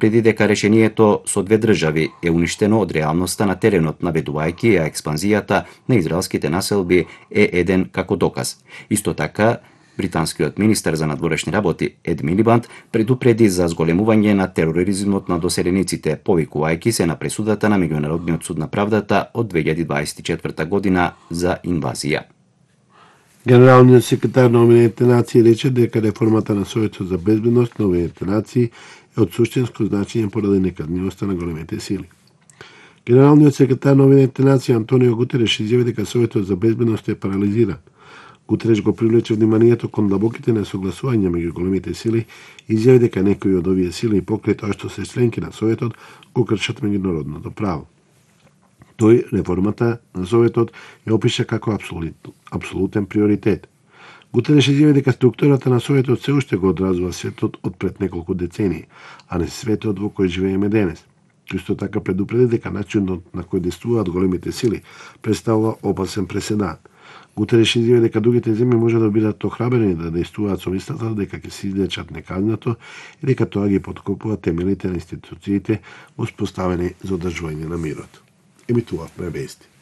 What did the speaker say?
Преди дека решението со две држави е уништено од реалноста на теренот, наведувајќи ја експанзијата на израелските населби е еден како доказ. Исто така, британскиот министер за надворешни работи Ед Милибанд предупреди за зголемување на тероризмот на доселениците, повикувајќи се на пресудата на Меѓународниот суд на правдата од 2024 година за инвазија. Генералниот секретар на Обединетите нации рече дека реформата на Советот за безбедност на Обединетите нации е од суштинско значење поради некаднивоста на големите сили. Генералниот секретар на Обединетите нации Антонио Гутереш изјави дека Советот за безбедност е парализиран. Гутереш го привлече вниманието кон длабоките несогласувања меѓу големите сили и изјави дека некои од овие сили покрај тоа што се членки на Советот го кршат меѓународното право. Тој реформата на Советот ја опиша како апсолутен приоритет. Гутереш изјави дека структурата на Советот се уште го одразува светот од пред неколку децении, а не светот во кој живееме денес. Исто така предупреди дека начинот на кој действуваат големите сили представува опасен преседан. Гутереш изјави дека другите земји може да бидат охрабрени да действуваат со мислата дека ќе се излечат неказнато и дека тоа ги поткопува темелите на институциите воспоставени за одржување на мирот. Емитувавме вести.